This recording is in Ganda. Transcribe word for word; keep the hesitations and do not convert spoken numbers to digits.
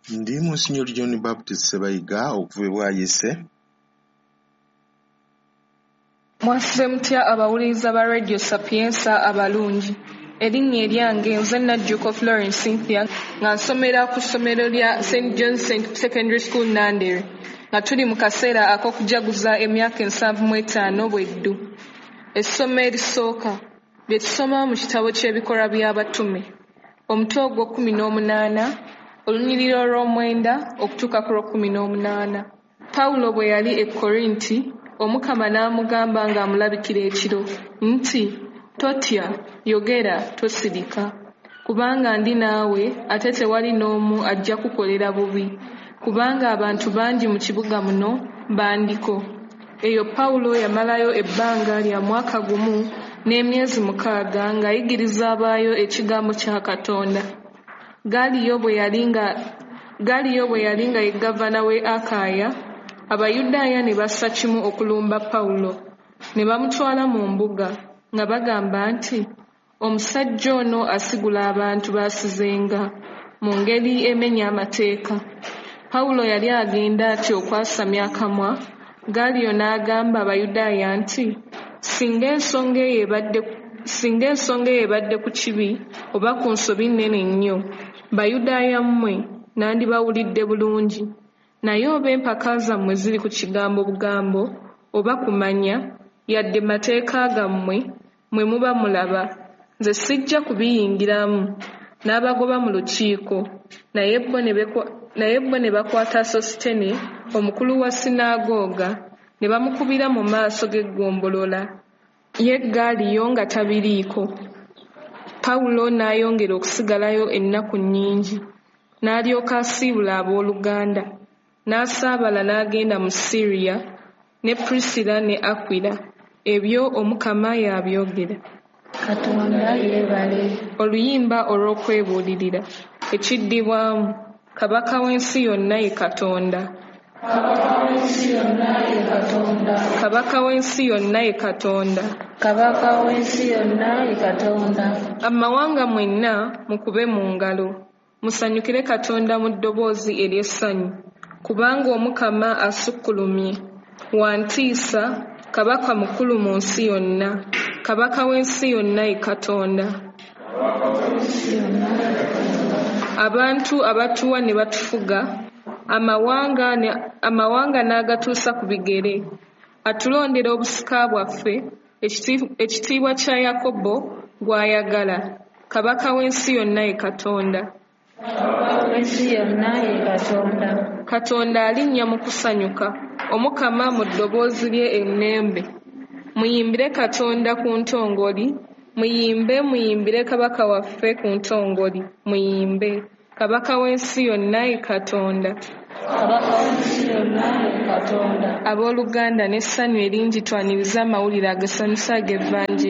Ndi Monsignor John Baptist Ssebayiga okuva e Bwaise. Mwasuze mutya abawuliriza ba Radio Sapientia abalungi. Erinnya eryange nze Najjuuko Florence Cynthia nga nsomera ku ssomero lya Saint John's Secondary School Nandere nga tuli mu kaseera ak'okujaguza emyaka ensanvu mu etaano bweddu. Essomo erisooka lye tusoma mu kitabo ky'Ebikolwa by'Abatume, omutwe ogw'ekkumi n'omunaana, olunyiriri olw'omwenda okutuuka ku lw'ekkumi n'omunaana. Pawulo bwe yali e Korinti, Omukama n'amugamba ng'amulabikira ekiro nti, "Totya, yogera, tosirika, kubanga ndi naawe ate tewali n'omu ajja kukukolera bubi, kubanga abantu bangi mu kibuga muno bandiko." Eyo Pawulo yamalayo ebbanga lya mwaka gumu n'emyezi mukaaga ng'ayigiriza abaayo ekigambo kya Katonda. Galiyo bwe yali nga Galiyo bwe yali nga ye gavana w'e Akaya, Abayudaaya ne bassa kimu okulumba Pawulo, ne bamutwala mu mbuga, nga bagamba nti, "Omusajja ono asigula abantu b'asizenga, mu ngeri emenya amateeka." Pawulo yali agenda atyo okwasamya akamwa, Galiyo n'agamba Abayudaaya nti, "Singa ensonga eyo ebadde singa ensonga eyo ebadde ku kibi oba ku nsobi nnene nnyo, Bayudaaya mmwe nandibawulidde bulungi. Naye oba empaka zammwe ziri ku kigambo bugambo oba kumanya, yadde mateeka gammwe, mmwe muba mulaba, nze sijja kubiyingiramu." N'abagoba mu lukiiko, naye bo ne bekwa naye bo ne bakwata Sositene omukulu wa sinaagooga, ne bamukubira mu maaso g'eggombolola. Ye Galiyo nga tabiriiko. Pawulo n'ayongera okusigalayo ennaku nnyingi, n'alyoka asiibula abooluganda, n'asaabala n'agenda mu Syria ne Priscilla ne Akwila. Ebyo Omukama y'abyogera. Katonda yeebale. Oluyimba olw'okwebuulirira. Ekiddibwamu: Kabaka w'ensi yonna ye Katonda. Kabaka w'ensi yonna ye Katonda. Kabaka w'ensi yonna ye Katonda. Kabaka w'ensi yonna ye Katonda. Amawanga mwenna mukube mu ngalo, musanyukire Katonda mu ddoboozi ery'essanyu, kubanga Omukama asukkulumye, wa ntiisa, Kabaka mukulu mu nsi yonna. Kabaka w'ensi yonna ye Katonda. Abantu abatuwa ne batufuga, amawanga ne amawanga n'agatuusa ku bigere. Atulondera obusika bwaffe, ekitiibwa kya Yakobo gw'ayagala. Kabaka w'ensi yonna ye Katonda. Kabaka w'ensi yonna ye Katonda. Katonda alinnya mu kusanyuka, Omukama mu ddoboozi lye ennembe. Muyimbire Katonda ku ntongoli, muyimbe muyimbire Kabaka waffe ku ntongoli, muyimbe. Kabaka w'ensi yonna ye Katonda. Kabaka w'ensi yonna ye Katonda. Abooluganda n'essanyu eringi twanirize amawulire agasanyusa ag'Evanjiri.